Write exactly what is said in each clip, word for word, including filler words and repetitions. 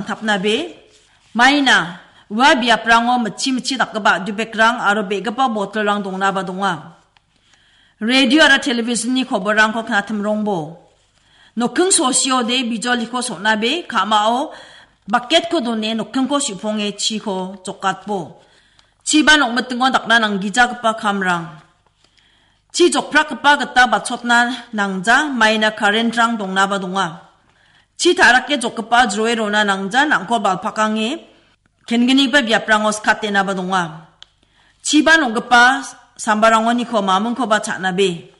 Tapnabe, maina, ua biaprango mitchi mitchi dakgipa dubekrang aro be·gipa botolrang dongnaba donga. Radio aro televisionni koborrangko knatimrongbo. Nokking sosiode bijoliko so·nabe, ka·mao baketko done nokkingko su·ponge chiko jokatbo. Chiba nokmitingo dakna nanggijagipa kamrang. Chi jokprakgipa gita bachotna nangja, maina karentrang dongnaba donga. Chi ta·rake jokgipa jroe rona nangja, nangkol balpakange kenggipa biaprango skatenaba donga. Chiba nokgipa sambarangoniko mamingkoba cha·nabe.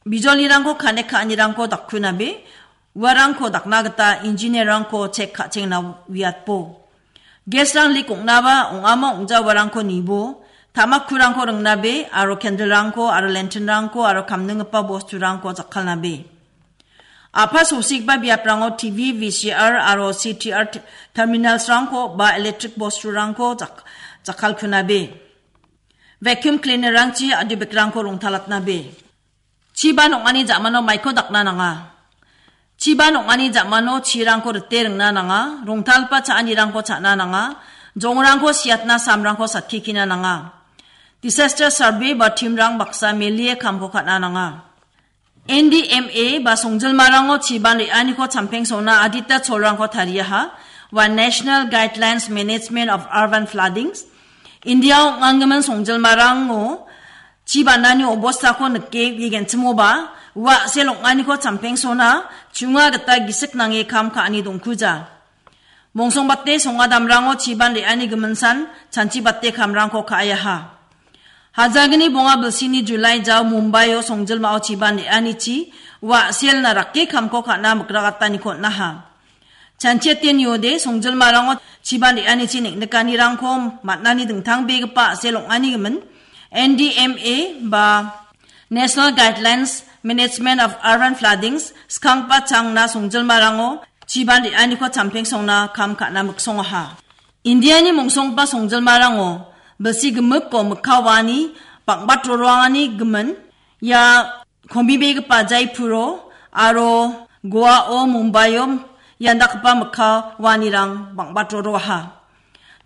Bijolirangko kanek ka·anirangko dakkunabe, uarangko dakna gita engineer-rangko chek ka·chengna uiatbo. Gas-rang lik ong·naba ong·amo ong·ja uarangko nibo, tamakkurangko ringnabe, aro candle-rangko, aro lantern-rangko, aro kamninggipa bosturangko jakkalnabe. A·pa sosikba biaprango T V, V C R, aro C T R t-, terminals-rangko ba electric bosturangko jak-, jakkalkunabe. Vacuum cleaner-rangchi a·dubekrangko rongtalatnabe. Chiba nong·ani ja·mano maiko dakna nanga. Chiba nong·ani ja·mano chirangko rite ringna nanga, rongtalgipa cha·anirangko cha·na nanga, jongrangko siatna samrangko satkikina nanga. Disaster survey ba team-rang baksa melie kamko ka·na nanga. N D M A ba songjilmarango chiban re·aniko champengsona adita cholrangko tariaha, ua National Guidelines Management of Urban Floodings. India ong·anggimin songjilmarango chibanani obostako nike, igenchimoba, ua a·sel ong·aniko champengsona chunga gita gisik nange kam ka·ani dongkuja. Mongsongbate songadamrango chiban re·ani giminsan chanchibate kamrangko ka·aiaha. Hajalgni bonga bilsini July jao Mumbaio songjilmao chiban re·anichi ua a·selna rake kamko ka·na mikragataniko on·aha. Chanchiate niode songjilmarango chiban re·anichi neng·nikanirangko man·ani dingtangbegipa a·sel ong·ani gimin N D M A ba National Guidelines Management of Urban Floodings skanggipa changna songjilmarango chiban re·aniko champengsongna kam ka·na miksongaha. Indiani mongsonggipa songjilmarango bilsi gimikko mikka waani bang·bat roroangani gimin ia kombibegipa Jaipuro aro Goao, Mumbaio ian dakgipa mikka waanirang bang·bat roroaha.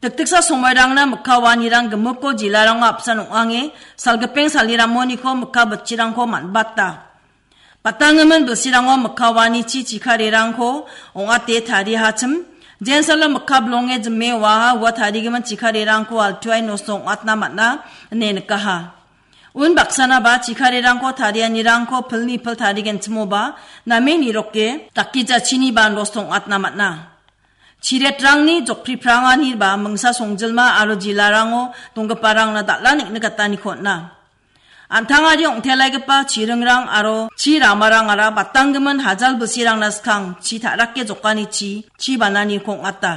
Dikdiksa somoirangna mikka waanirang gimikko jilarango apsan ong·ange salgipeng saliramoniko mikka bitchirangko man·bata. Batanggimin bilsirango mikka waanichi chikarerangko ong·ate tariahachim. Jensalo mikka bilonge jime oaha ua tarigimin chikarerangko altuae nosto ong·atna man·a ine nikaha. Unbaksanaba chikarerangko tarianirangko pilni pil tarigenchimoba name niroke dakgijachiniba nosto ong·atna man·a. Chiretrangni jokpripranganiba mingsa songjilma aro jilarango donggiparangna dal·a neng·nikataniko on·a. An·tangari ong·telaigipa chiringrang aro chi ramarangara batanggimin hajal bilsirangna skang chi ta·rake jokanichi chi bananiko ong·ata.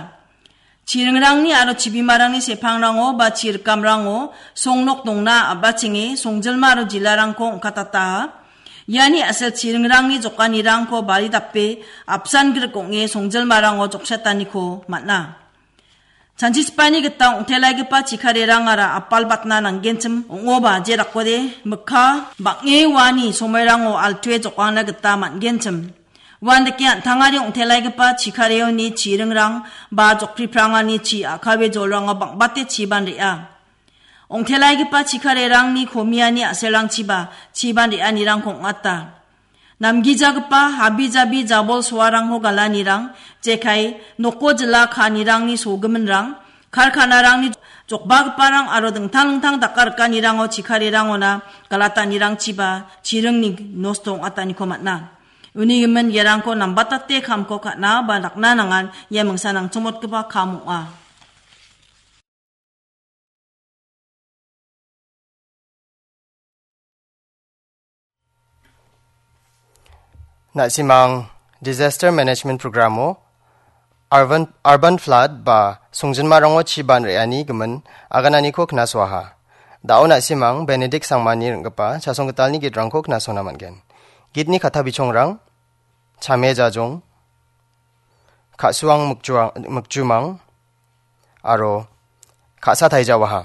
Chiringrangni aro chibimarangni sepangrango ba chi rikamrango songnok dongna a·bachenge songjilma aro jilarangko ong·katataha. Iani a·sel chiringrangni jokanirangko bari dape apsan grik ong·e songjilmarango joksataniko man·a. Chanchichipani gita ong·telaigipa chikarerangara apalbatna nanggenchim ong·oba, jerakode mikka bang·e uani somoirango altue jokangna gita man·genchim. Uandake an·tangari ong·telaigipa chikareoni chiringrang ba jokpripranganichi a·kawe jolrango bang·bate chiban re·a. Ong·telaigipa chikarerangni komiani a·selrangchiba chiban re·anirangko ong·ata. Namgijagipa habijabi jabol soarangko galanirang, jekai noko jila ka·anirangni sogiminrang, karkanarangni jokbagiparang aro dingtang dingtang dakgarikanirango chikarerangona galatanirangchiba chiringni nosto ong·ataniko man·a. Uni gimin iarangko nambatate kamko ka·na ba dakna nangan ia mingsa nangchongmotgipa kam ong·a. Na·simang Disaster Management Programo Urban, Urban Flood ba songjinmarango chiban re·ani gimin agananiko knasoaha. Da·o na·simang Benedict Sangmani ring·gipa chasonggitalni gitrangko knasona man·gen. Gitni kata bichongrang, Chame Jajong, Ka·suang Mikjuang-, Mikjumang, aro Ka·sa Taijawaha.